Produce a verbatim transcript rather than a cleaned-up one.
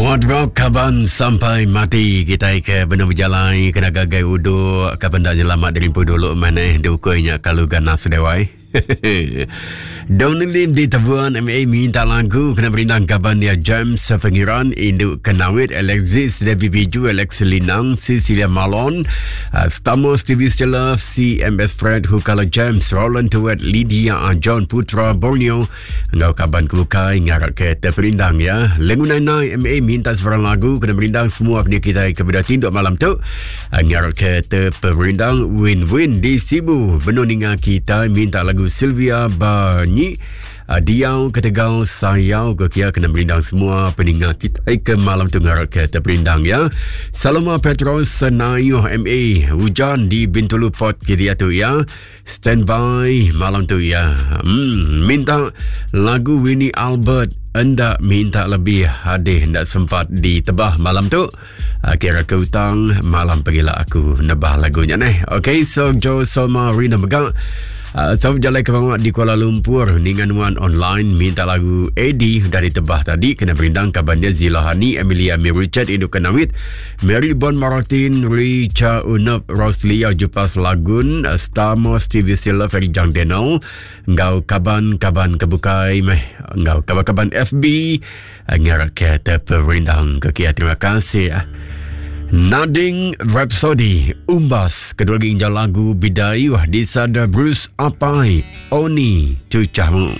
Wardrobe kaban sampai mati kita ke benar berjalan kena gagai uduk kaban dak nyelamat dari empu dulu mana dukuinya kalau ganas dewai. Donald di Tebuan M A minta lagu kena berindang kaban dia James Pengiran, Induk Kenawit, Alexis Debbie Biju, Alex Linang, Cecilia Malon, uh, Stamos T V Stella, C M S Fred, Hukala James, Roland Tuet, Lydia John Putra Borneo, ngau kaban kebukai ngarak ke terperindang ya. Lengu Nai M A minta sebarang lagu kena berindang semua punya kita kepada tinduk malam tu. Uh, ngarak ke terperindang win-win di Sibu. Benuh ninga kita minta lagu Sylvia Banyi uh, Diau Ketegal Sayau ke kia kena berindang semua peninga kita ke malam tu ngarak ke terperindang ya. Saloma Petros Senayuh M A hujan di Bintulu Port kita tu ya. Standby malam tu ya. Hmm, minta lagu Winnie Albert hendak minta lebih hadih hendak sempat ditebah malam tu. Kira ke hutang malam pergilah aku nebah lagunya neh. Okay, so Joe Soma Rina Megang. Uh, so jalan ke bawah di Kuala Lumpur ningan Wan online minta lagu A D dari tebah tadi kena berindang kabannya Zilahani, Emilia Mir Richard, Induk Kenawit, Mary Bon Martin, Richa Unop, Roslia Jupas Lagun, Stamos T V Sila, Ferry Jang Denau, ngau kaban-kaban kebukai meh, ngau kaban-kaban F B ngarak ke terperindang ke kia. Terima kasih. Nading Rhapsody Umbas kedua lagi injal lagu Bidayuh di sada Bruce Apai Oni Cucahmu.